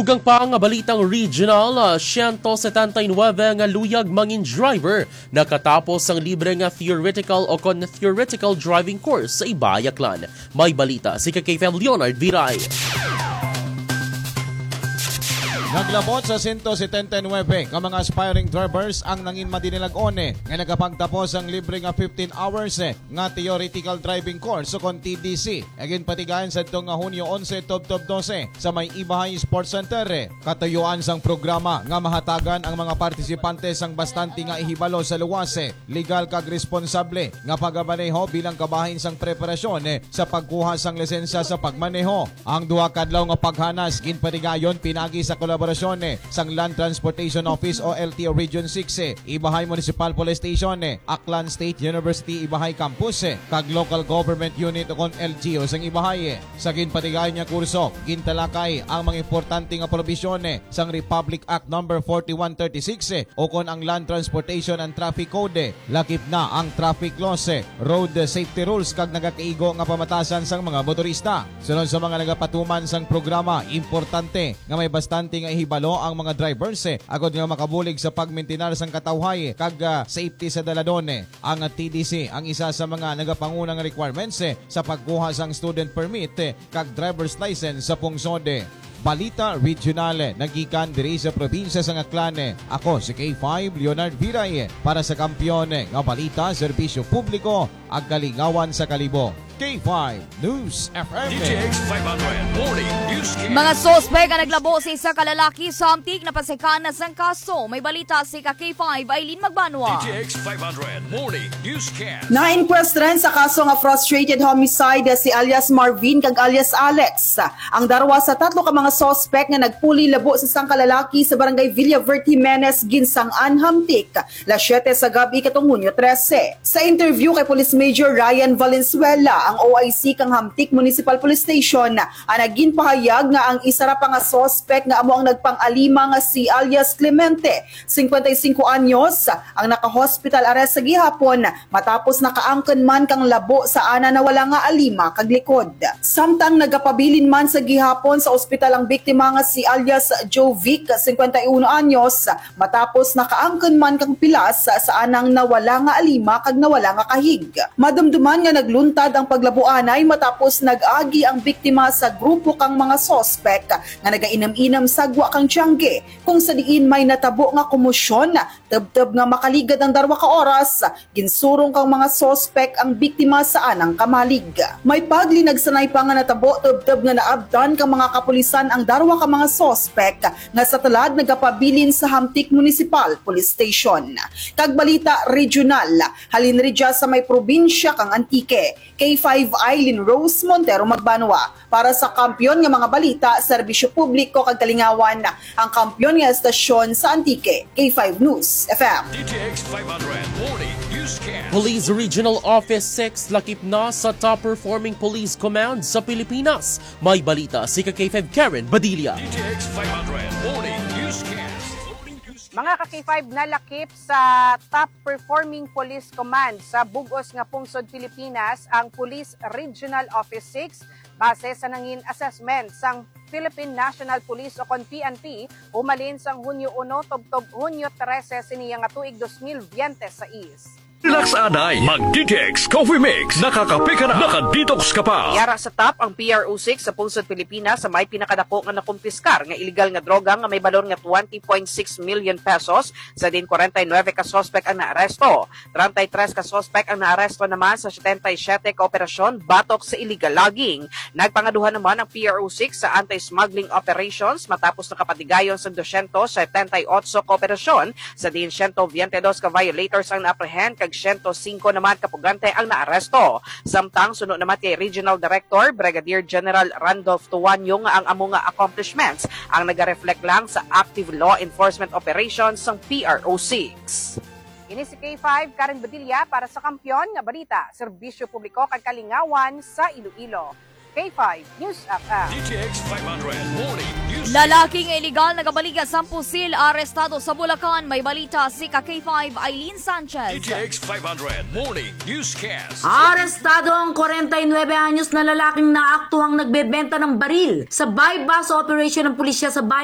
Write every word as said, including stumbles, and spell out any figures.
Ug ang pa nga balitang regional, ah, siyento setenta y nuebe nga luyag mangin driver nakatapos ang libre nga theoretical o kon theoretical driving course sa Ibay, Aklan. May balita si ka K five Leonard Viray. Naglabot sa sento setenta y nuebe ka mga aspiring drivers ang nangin madinilag-on, eh, nga nagapagtapos ang libre nga fifteen hours, eh, nga theoretical driving course o kon T D C. Ginpatigayon sa adto nga Hunyo onse, tubtob dose, sa may Ibahay Sports Center. Katuyuan sang programa nga mahatagan ang mga partisipante sang bastante nga ihibalo sa luwas, legal kag responsable nga pagamaneho bilang kabahin sang preparasyon sa pagkuha sang lisensya sa pagmaneho. Ang duha ka adlaw nga paghanas ginpatigayon pinagi sa kolaborasyon sang Land Transportation Office o L T O Region six, Ibahay Municipal Police Station, Aklan State University Ibahay Campus, kag Local Government Unit o kon L G U sang Ibahay. Sa ginpatigayon nga kurso, gintalakay ang mga importante nga probisyon sang Republic Act Number forty-one thirty-six, o kon ang Land Transportation and Traffic Code, lakip na ang traffic laws, road safety rules, kag nagakaigo nga pamatasan sang mga motorista. Sunod sa mga nagapatuman sang programa, importante nga may bastante nga ihibalo ang mga drivers, agod nga makabulig sa pagmintinar sang katawhay kag, ah, safety sa daladon. Ang T D C ang isa sa mga nagapangunang requirements, eh, sa pagkuha sang student permit, eh, kag driver's license sa pungsod. Balita Regional, eh, nagikan diri sa probinsya sang Aklan. Ako si K five Leonard Viray, eh, para sa Kampiyon, eh, nga Balita, Serbisyo Publiko, ag Kalingawan sa Kalibo. K five News F M. D T X five hundred Morning Newscast. Mga suspek ang naglabo sa isa ka lalaki sa Hamtic, napasikan na sang kaso. May balita si ka K five Eileen Magbanwa. D T X five hundred Morning Newscast. Na-inquest rin sa kaso nga frustrated homicide si alias Marvin kag alias Alex. Ang darwa sa tatlo ka mga suspek nga nagpuli labo sa sangka lalaki sa barangay Villaverde Jimenez, Ginsangan, Hamtic, las siete sa gab-i katong Hunyo trese. Sa interview kay Police Major Ryan Valenzuela, ang O I C kang Hamtic Municipal Police Station, ang nagin pahayag nga ang isa ra pa nga suspek nga amo ang nagpang-alima nga si alias Clemente, cincuenta y cinco anyos, ang naka-hospital arrest sa gihapon matapos nakaangkon man kang labo sa ana nawala nga alima kag likod. Samtang nagapabilin man sa gihapon sa ospital ang biktima nga si alias Jovic, cincuenta y uno anyos, matapos nakaangkon man kang pilas sa anang nawala nga alima kag nawala nga kahig. Madumduman nga nagluntad ang paglabuanay matapos nag-agi ang biktima sa grupo kang mga suspek nga nagainom-inom sa gwa kang tiyangge, kung sa diin may natabo nga komosyon, tubtob nga makaligad ang darwa ka oras, ginsurong kang mga suspek ang biktima sa anang kamalig. May paglinagsanay pa nga natabo tubtob nga naabtan kang mga kapulisan ang darwa ka mga suspek nga sa tulad nagapabilin sa Hamtic Municipal Police Station. Kag balita regional, halin ridya sa may probinsya kang Antique, K five Eileen Rose Montero Magbanwa. Para sa Kampiyon nga mga balita, serbisyo publiko kag kalingawan, ang kampiyon nga estasyon sa Antique, K five News F M. D T X five hundred Morning Newscast. Police Regional Office six lakip na sa top performing police command sa Pilipinas. May balita si ka K five Karen Badilla. D T X five hundred Morning Newscast. Morning Newscast. Mga ka K five, nalakip sa top performing police command sa bug-os nga pungsod Pilipinas ang Police Regional Office six, base sa nangin assessment sang Philippine National Police o kon P N P, humalin sang Hunyo uno tubtob Hunyo trese sini nga tuig dos mil biyente sais. Relax anay, mag D T X Coffee Mix, nakakape ka na, naka-detox ka pa. Yara sa top ang P R O six sa pungsod Pilipinas sa may pinakadako nga nakumpiskar nga iligal nga droga nga may balor nga twenty point six million pesos, sa din kwarenta y nuebe ka suspek ang naaresto. Treinta y tres ka suspek ang naaresto naman sa setenta y siyete ka operasyon batok sa illegal logging. Nagpangaduha naman ang P R O six sa anti-smuggling operations matapos nakapatigayon sa dosyentos setenta y otso ka operasyon, sa diin siyento biyente dos ka violators ang naaprehend kag siyento singko naman ka pugante ang naaresto. Samtang suno naman kay Regional Director Brigadier General Randolph Tuanyo nga ang amo nga accomplishments ang nagareflect lang sa active law enforcement operations sang P R O six. Ini si K five, Karen Badilla para sa Kampiyon nga Balita, Serbisyo Publiko kag Kalingawan sa Iloilo. K five News F M. D T X five hundred Morning News. Lalaki nga iligal nagabaliga sang pusil arestado sa Bulacan. May balita si ka K five Eileen Sanchez. D T X five hundred Morning Newscast. Arestado ang kwarenta y nuebe anyos na lalaking naaktuhang nagbebenta ng baril sa buy-bust operation ng pulisya sa bayan